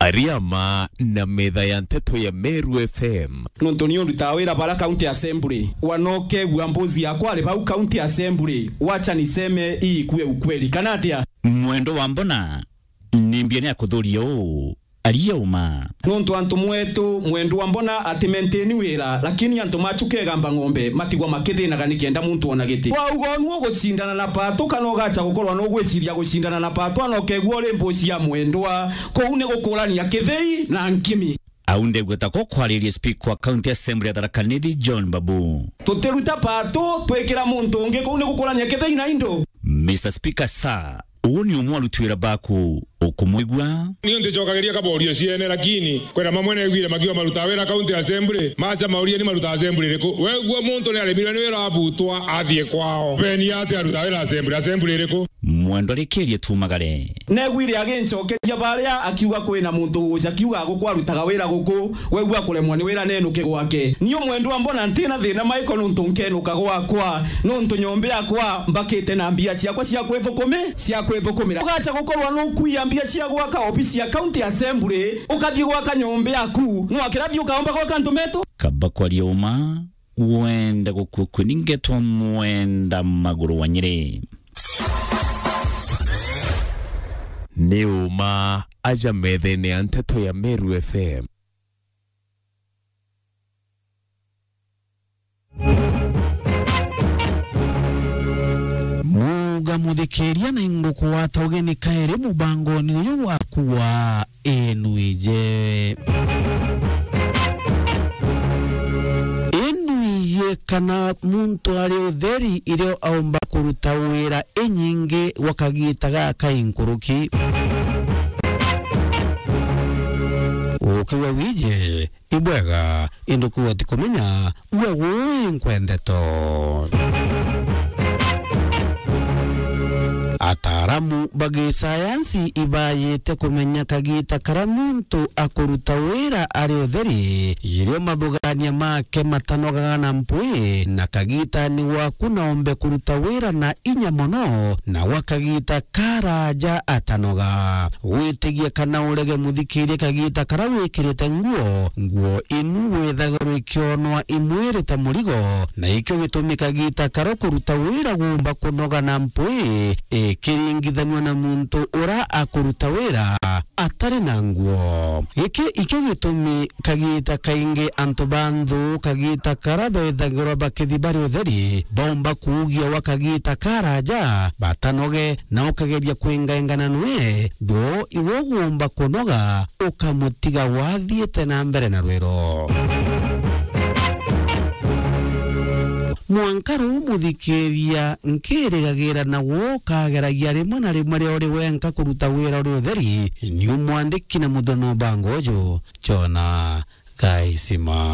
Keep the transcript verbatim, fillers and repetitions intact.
Ariama na metha ya nteto ya Meru F M. Nontu ni undutaa wira bara County Assembly, wanokegua mbuzi yakwa ari bau County Assembly, wacha niseme hii ikuwe ukweli, kana atia? Mwendwa Mbona, ni mbia ni akuthuria uu, aria uma. Nontu antu mwetu, Mwendwa Mbona ati maintain wira, lakini antu machu kegamba ng'ombe, matigwa makithinaga nikenda muntu ona giti. Wauga unu ugucindana na Patu, kana ugacha gukorwa nugwiciria gucindana na Patu, anokegua uri mbuzi ya Mwendwa, kuu ni gukurania kithei na nkimi. Au ndegweta ko kwariria Speaker wa County Assembly ya Tharaka Nithi, John Babu. Tutiruta Patu, twikira muntu ungi, kuu ni gukurania kithei na indo. Mister Speaker, sir, uu ni umwe wa aruti wira baku, ukumwigua? Niu nticokagiria kaborio ciene, lakini kwina mamwe neguire makiuga marutaa wira County Assembly, macha mauria ni marutaa Assembly iriku? Wegua muntu ni aremirwe ni wira abutwa athie kwao. Beni ati arutaa wira Assembly, Assembly iriku? Mwendwa rikirie tumagare. Neguire agincokeria baria akiuga kwina muntu uja kiuga guku arutaga wira guku, wegua kuremwa ni wira nenuke gwake. Niu Mwendwa Mbona ntina thina maiko nontu nkenuka gwakwa, nontu nyomba yakwa mbakite na mbia ciakwa cia kwithukumi-, cia kwithukumira. Ugacha gukorwa nukuia mbia cia gwaka obisi ya County Assembly, ukathie gwaka nyomba yaku, nwakira thie ukaomba gwaka antu metu? Kaba kwaria uma, wenda gukua kwi ni ngetwa Mwenda Maguru wa Nyeri. Ni uma aja methene ya nteto ya Meru F M. Muga muthikiria na ingukugwata ugeni kairi mubangoni uyu waku wa Inuije. Inuije kana muntu ari utheri irio aumba kuruta wira inyingi gwa kagiita gaka inkuruki. Ukiuga wije, ibwega, indi kuuga utikumenya, uga gui nkwendeto. Ataaramu ba gisayansi ibaajite kumenya kagiita karia muntu akuruta wira ari utheri, irio mathugania make matanogaga na mpwi, na kagiitani gwaku na ombe kuruta wira na inya mono, na gwa kagiita karaaja atanoga. Witigie kana urege muthikirie kagiita karia wikirite nguo, nguo inu withagirwa ikionwa imwiri ta murigo, na ikio gitumi kagiita karia kuruta wira guumba kunoga na mpwi ikiringithanua na muntu uria akuruta wira atari na nguo. Giki ikio gitumi kagiita kaingi antu ba nthu kagiita karia bethagirwa bakithi bari utheri, baumba kuugia gwa kagiita karaaja batanoge, na ukageria kwingaingana nwe, thwo iwe ugumba kunoga, ukamutiga wathiite na mbere na rwiro. Mwanka ruu muthikiria nkirigagira na gwo ukageragia rimwe na rimwe riria uri wenka kuruta wira uri utheri, ni umwandiki na muthoni ubango uju, Jona Gaisima.